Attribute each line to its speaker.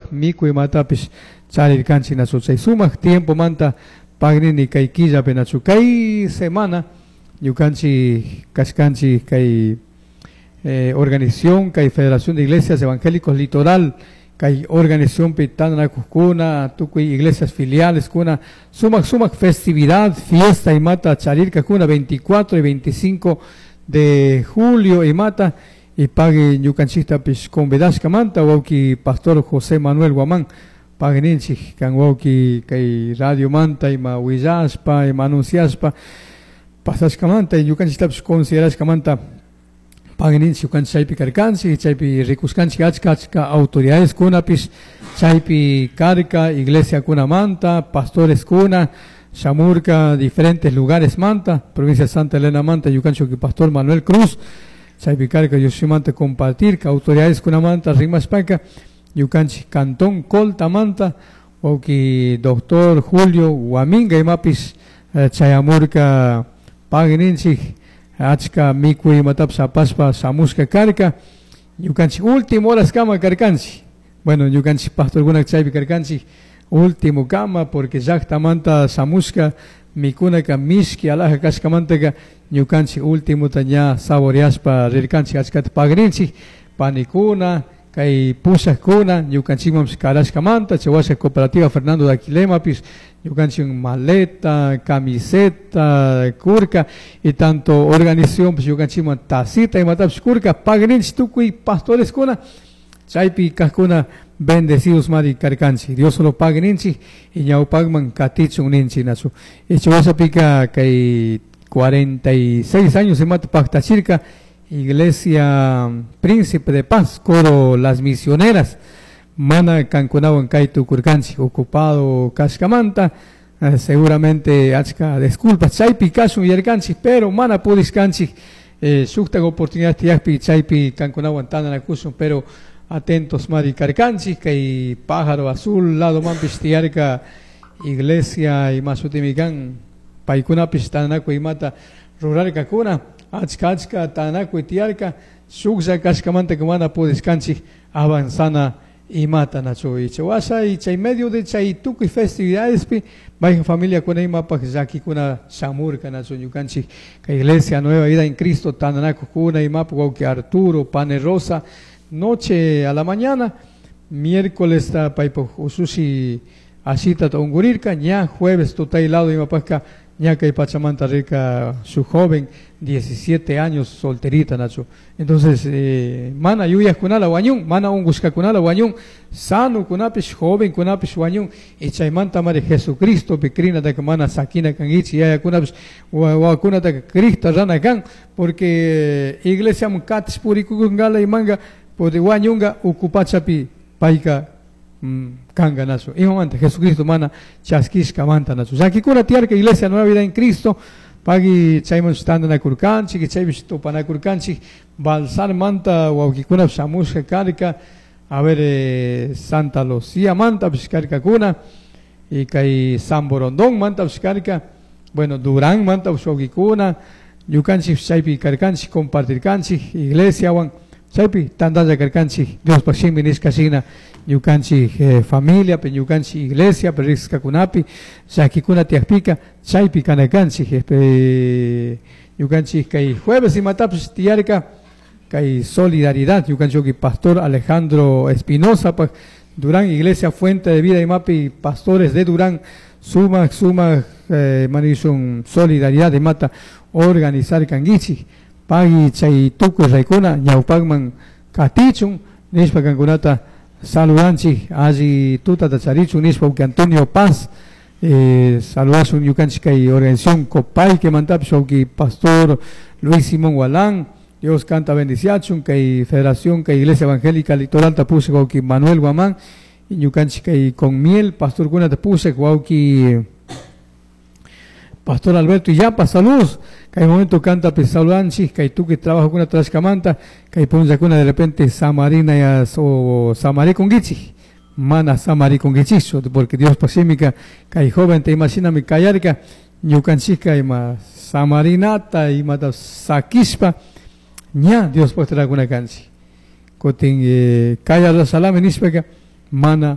Speaker 1: Sumak mikuy imatapish charirkanchik nachu. Chay sumak tiempomanta pagnini kay killapi nachu. Kay semana ñukanchik kashkanchik kay organización, kay Federación de Iglesias Evangélicos Litoral, kay organizacionpi tantanakujkuna, tukuy iglesias filiales kuna, sumak sumak festividad, fiesta imata charirkakuna 24 y 25 de julio imata, y pagui ñukanchiktapish convidashkamanta wawki pastor José Manuel Guamán, pagninchik kan wawki kay radiomanta ima willashpa, ima anunciashpa, pasashkamanta y ñukanchiktapish considerashkamanta pagninchik ñukanchik chaypi karkanchik, chaypi rikuskanchik achka achka autoridades kunapish chaypi karka, iglesia kunamanta, pastores kuna, shamurka diferentes lugares manta, provincia de Santa Elena manta, ñukanchik pastor Manuel Cruz, chaypi karka Dioshimanta compartirka, autoridades kunamanta rimashpaka, ñukanchik cantón Colta manta, wawki doctor Julio Huaminga imapish chayamurka pagninchik achka mikuy imatapish apashpa shamushka karka, ñukanchik último horas kama karkanchik, bueno, ñukanchik pastorkuna chaypi karkanchik último kama, porque llaktamanta shamushka mikunaka mishki alaja kashkamantaka ñukanchik últimota ña saboreashpa rirkanchik achkata pagrinchik panikuna, kay pushakuna ñukanchikmanpish karashkamanta, chay washa cooperativa Fernando de Aquilemapish ñukanchik maleta, camiseta, kurka y tanto organización pish ñukanchikman tacita imatapish kurka pagrinchik tukuy pastoreskuna chaypi kajkuna bendecidos mari karkanchik, Dios solo pagrinchik y ñawpakman katichun ninchik nachu. Y chay washapika kay 46 años imata paktachirka Iglesia Príncipe de Paz, coro Las Misioneras, mana kankunawan kay tukurkanchik ocupado kashkamanta, seguramente achka disculpas chaypi kashun yarkanchik, pero mana pudishkanchik, shuktak oportunidad tiyakpi chaypi kankunawan tantanakushun, pero atentos mari karkanchik, kay pájaro azul lado manpish tiyarka iglesia imashutimi kan paykunapish tantanakuy imata rurarkakuna, achka achka tantanakuy tiyarka, shuklla kashkamanta mana pudishkanchik avanzana imata nachu. Y chay washa y chay medio de chay tukuy festividadespi mayjan familiakuna imapaj llakikuna shamurka nachu ñukanchik kay iglesia Nueva Vida en Cristo tantanakujkuna imapaj wawki Arturo Pane Rosa noche a la mañana miércoles ta paypaj usushi ashita ungurirka ña jueves tutay lado imapajka ña kay pachamanta rirka su joven 17 años solterita nachu. Entonces mana yuyajkunala wañun, mana ungushkakunala wañun, sano kunapish joven kunapish wañun, y chaymanta mari Jesucristo pi crinataka mana sakina kankichik, yayakunapish wawakunataka Cristo rana kan, porque iglesiaman katish purikukunkala imanga porque wañunga ukupachapi payka kanga nachu. Imamanta Jesucristo mana chaskishkamanta nachu. Llakikuna tiyarka Iglesia Nueva Vida en Cristo, pagui chayman tantanakurkanchik, chaypish tupanakurkanchik, Balsar manta wawkikunapish shamushka karka, a ver, Santa Lucía mantapish karkakuna, y kay San Borondón mantapish karka, bueno, Durán mantapish wawkikuna, ñukanchik chaypi karkanchik, compartirkanchik, iglesiawan, chaypi tantalla karkanchik, Diospaj shimi nishka shina, ñukanchik familia, pe ñukanchik iglesia, pe riqsikakunapi, llakikuna tiyakpika, chaypi kanakanchik, ñukanchik kay jueves imatapish tiyarka, kay solidaridad, ñukanchik pastor Alejandro Espinosa, pa Durán, Iglesia Fuente de Vida imapi, pastores de Durán, sumak, sumak, manishun solidaridad imata organizar kankichik, pagui chay tukuy raykuna ñawpakman katichun, nishpa kankunata saludanchik, alli tutata charichun, nishpa uki Antonio Paz, saludashun ñukanchik kay organización Copaique mantapish uki pastor Luis Simón Gualán, Dios canta bendiciachun, kay Federación, kay Iglesia Evangélica Litoral tapushek wawki Manuel Guamán, y ñukanchik kay con miel, pastor kuna tapushek wawki Pastor Alberto Illapa, saludos. Kay momento canta saludanchik, kay tukuy trabajo kuna trashkamanta, kay punllakuna de repente samarina ya o samarikunkichik, mana samarikunkichikchu, porque Dios pashimika, kay joven te imaginami kayarka, ñukanchikka ima samarinata, imata sakishpa, ña Dios pajtarakuna kanchik. Kutin kayarla salami nishpaka, mana